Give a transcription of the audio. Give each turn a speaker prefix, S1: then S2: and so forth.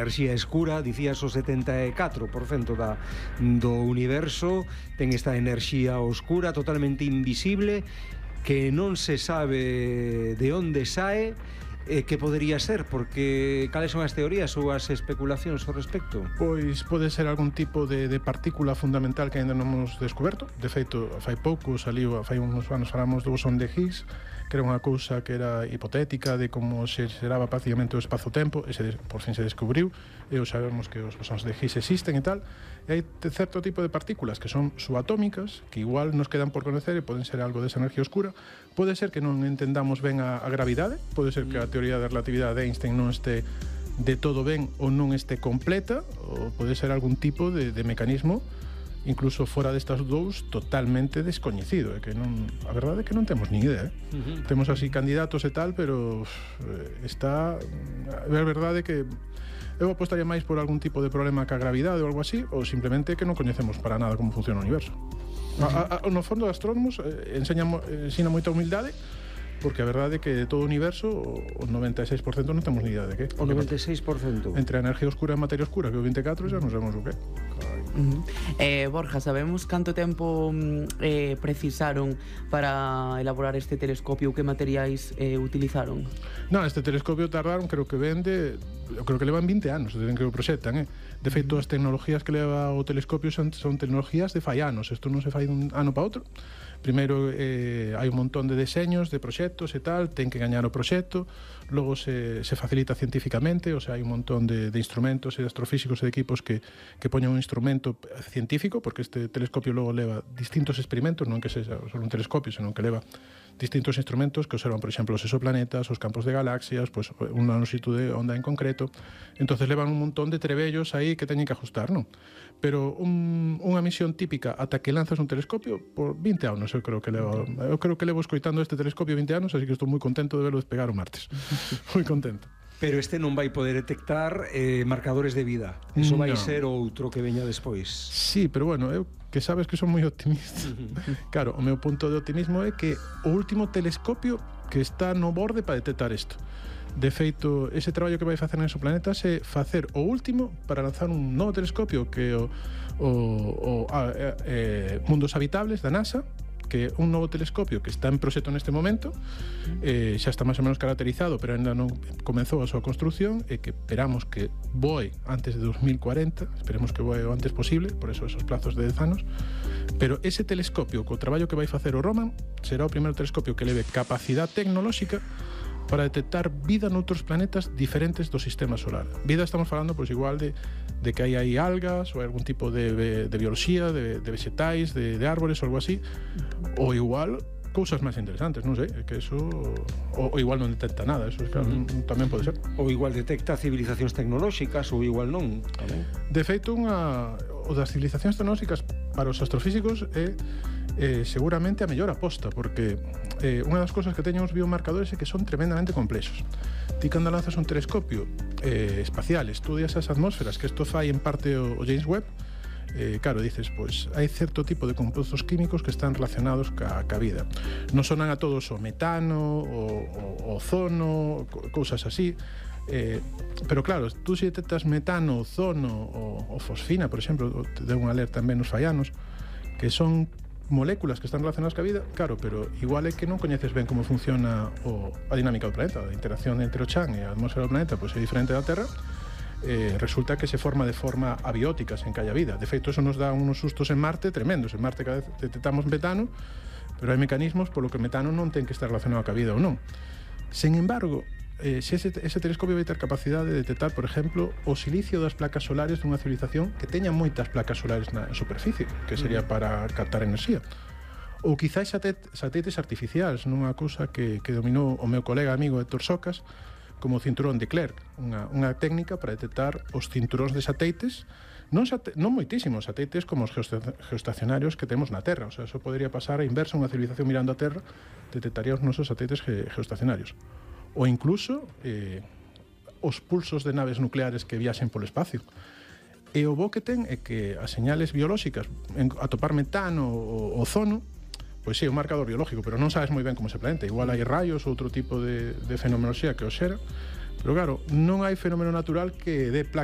S1: enerxía escura, dicías o 74% do universo ten esta enerxía oscura totalmente invisible que non se sabe de onde sae. Que podería ser? Porque cales son as teorías ou as especulacións ao respecto?
S2: Pois pode ser algún tipo de partícula fundamental que ainda non hemos descoberto. De feito, fai pouco saliu, fai uns anos falamos do bosón de Higgs, que era unha cousa que era hipotética de como se xeraba prácticamente o espazo-tempo, e por fin se descubriu, e sabemos que os bosóns de Higgs existen e tal, e hai certo tipo de partículas que son subatómicas, que igual nos quedan por conocer e poden ser algo desa enerxía oscura. Pode ser que non entendamos ben a gravidade, pode ser que a teoría da relatividade de Einstein non este de todo ben ou non este completa, ou pode ser algún tipo de mecanismo incluso fora destas dous totalmente descoñecido, que non, a verdade é que non temos nin idea, Temos así candidatos e tal, pero está a verdade é que eu apostaría máis por algún tipo de problema ca gravidade ou algo así, ou simplemente que non coñecemos para nada como funciona o universo. No fondo, astrónomos ensina moita humildade, porque a verdade é que de todo o universo o 96% non temos ni idea de que.
S1: O 96%?
S2: Entre a enerxía oscura e a materia oscura, que o 24% xa non sabemos o que.
S3: Borja, sabemos canto tempo precisaron para elaborar este telescopio? Que materiais utilizaron?
S2: Non, este telescopio tardaron, creo que levan 20 anos desde que o proxectan, De feito, as tecnologías que leva o telescopio son tecnologías de fai anos. Isto non se fai dun ano para outro. Primeiro hai un montón de deseños, de proxectos e tal, ten que gañar o proxecto, logo se facilita científicamente, o sea, hai un montón de instrumentos e de astrofísicos e de equipos que poñen un instrumento científico, porque este telescopio logo leva distintos experimentos, non que sexa só un telescopio, senón que leva distintos instrumentos que observan, por exemplo, os exoplanetas, os campos de galaxias, pues, unha lonxitud de onda en concreto. Entonces levan un montón de trebellos aí que teñen que ajustar, non? Pero unha misión típica ata que lanzas un telescopio por 20 anos, eu creo que levo escoitando este telescopio 20 anos, así que estou moi contento de verlo despegar o martes. Moi contento.
S1: Pero este non vai poder detectar marcadores de vida. Eso vai ser outro que veña despois.
S2: Sí, pero bueno, eu que sabes que son moi optimista. Claro, o meu punto de optimismo é que o último telescopio que está no borde para detectar isto. De feito, ese traballo que vai facer en exoplanetas é facer o último para lanzar un novo telescopio que é o Mundos Habitables da NASA, que é un novo telescopio que está en proxecto neste momento, xa está máis ou menos caracterizado, pero ainda non comezou a súa construción, e que esperamos que voe antes de 2040, esperemos que voe o antes posible, por eso esos plazos de 10 anos, pero ese telescopio, co traballo que vai facer o Roman, será o primeiro telescopio que leve capacidade tecnolóxica para detectar vida noutros planetas diferentes do sistema solar. Vida estamos falando, pois, igual de que hai aí algas ou algún tipo de bioloxía, de vegetais, de árbores ou algo así, ou igual cousas máis interesantes, non sei, que eso ou igual non detecta nada, eso claro, tamén pode ser.
S1: Ou igual detecta civilizacións tecnolóxicas ou igual non, tamén.
S2: De feito, o das civilizacións tecnolóxicas para os astrofísicos é seguramente a mellor aposta, porque unha das cousas que teñen os biomarcadores é que son tremendamente complexos. Ti cando lanzas un telescopio espacial, estudias as atmósferas, que isto fai en parte o James Webb, claro, dices, pois hai certo tipo de compostos químicos que están relacionados ca vida. Non sonan a todos o metano, o ozono, cousas así, pero claro, tú se detectas metano, ozono ou fosfina, por exemplo, te deu un alerta en Venus fai anos, que son moléculas que están relacionadas ca vida, claro, pero igual é que non coñeces ben como funciona a dinámica do planeta, a interacción entre o chan e a atmosfera do planeta, pois é diferente da Terra. Resulta que se forma de forma abiótica sen que haya vida. De feito, eso nos dá unos sustos en Marte tremendos. En Marte cada vez detectamos metano, pero hai mecanismos polo que o metano non ten que estar relacionado ca vida ou non. Sen embargo, se ese telescopio vai ter capacidade de detectar, por exemplo, o silicio das placas solares dunha civilización que teña moitas placas solares na superficie, que sería para captar enerxía. Ou quizás satélites artificiais, nunha cousa que dominou o meu colega amigo Héctor Socas, como o cinturón de Clerc, unha técnica para detectar os cinturóns de satélites, non moitísimos satélites como os geoestacionarios que temos na Terra. O sea, eso podría pasar a inversa, unha civilización mirando a Terra detectaría os nosos satélites geoestacionarios. Ou incluso os pulsos de naves nucleares que viaxen polo espacio. E o bo que ten é que as señales biolóxicas, atopar metano ou ozono, pois sí, é un marcador biológico, pero non sabes moi ben como se planeta. Igual hai raios ou outro tipo de fenomenoloxía que os xera, pero claro, non hai fenómeno natural que dé